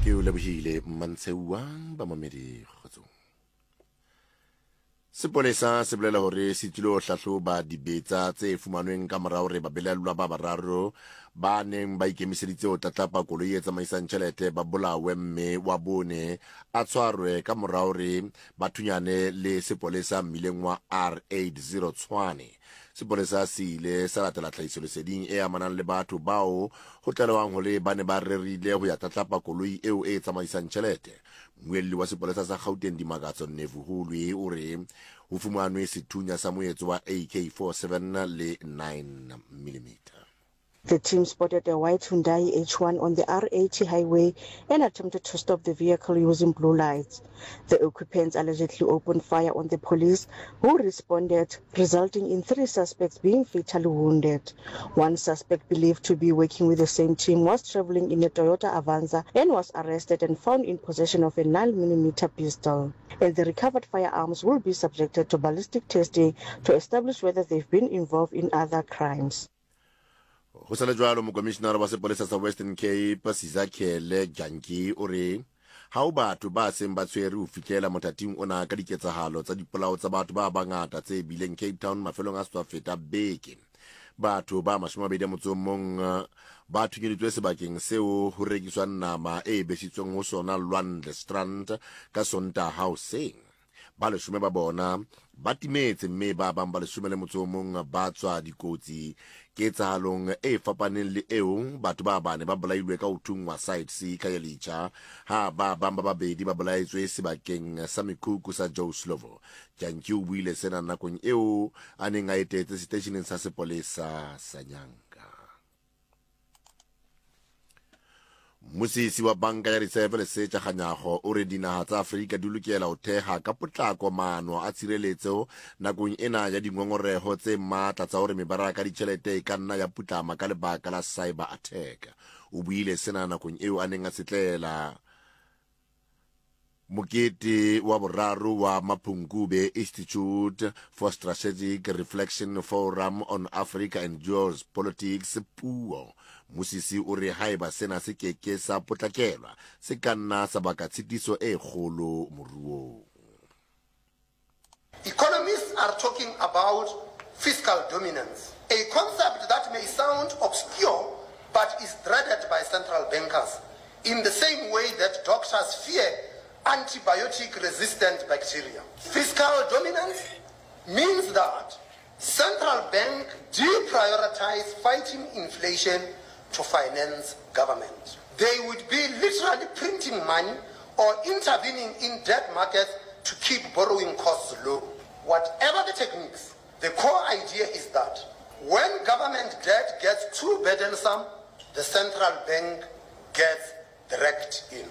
Ke o lebohile Mmantsheuwa bamamedi kgotsong. Sepolesa se bolela hore se tlilo hlahloba dibetsa tse fumanweng ka mora hore babelaellwa ba bararo ba neng ba ikemiseditse ho tlatlapa koloi e tsamaisang tjhelete ba bolawe mme wa bone a tshwarwe ka mora hore ba thunyane le sepolesa mmileng wa R80 Tshwane. Sepolesa se ile sa latela tlhahisoleseding e amanang le batho bao ho tlalehwang hore ba ne ba rerile ho ya tlatlapa koloi eo e tsamaisang tjhelete. Mmuelli wa sepolesa sa Gauteng Dimakatso Nevhuhulwi o re ho fumanwe sethunya sa moetso wa AK-47 le 9 millimeter. The team spotted a white Hyundai H1 on the R80 highway and attempted to stop the vehicle using blue lights. The occupants allegedly opened fire on the police, who responded, resulting in three suspects being fatally wounded. One suspect believed to be working with the same team was traveling in a Toyota Avanza and was arrested and found in possession of a 9mm pistol. And the recovered firearms will be subjected to ballistic testing to establish whether they've been involved in other crimes. Go sa le jwalo, mokomišenara wa sepolesa sa Western Cape, Sizakhele Janki, o re ha ho batho ba seng ba tshwere ho fihlela mothating ona ka diketsahalo tsa dipolao tsa batho ba bangata tse bileng Cape Town mafelong a setswa feta beke. Batho ba 21 ba thunyeditswe sebakeng seo ho rekiswang nama e besitsweng ho sona Lwandle Strand ka Sontaha hoseng. Ba leshome ba bona ba timetse mme ba bang ba leshome le motso o mong ba tswa dikotsi. Ketsahalong e fapaneng le eo, batho ba bane ba bolailwe ka ho thunngwa Site C Khayelitsha, ha ba bang ba babedi ba bolaetswe sebakeng sa mekhukhu sa Joe Slovo. Jantjie o buile sena nakong eo a neng a etetse seteisheneng sa sepolesa sa Nyanga. Mmusisi wa Banka ya Risefe Lesetja Kganyago o re dinaha tsa Afrika di lokela ho theha ka potlako maano a tshireletso nakong ena ya dingongoreho tse matla tsa hore mebaraka ya ditjhelete e ka nna ya putlama ka lebaka la cyber attack. O buile sena nakong eo a neng a setlela Mokete wa boraro wa Mapungubwe Institute for Strategic Reflection Forum on Africa and Geopolitics, Puo. Musisi o re haeba sena se ke ke sa potlakelwa, se ka nna sa baka tshitiso e kgolo moruong. Economists are talking about fiscal dominance, a concept that may sound obscure but is dreaded by central bankers in the same way that doctors fear antibiotic-resistant bacteria. Fiscal dominance means that central bank deprioritize fighting inflation to finance government. They would be literally printing money or intervening in debt markets to keep borrowing costs low. Whatever the techniques, the core idea is that when government debt gets too burdensome, the central bank gets dragged in.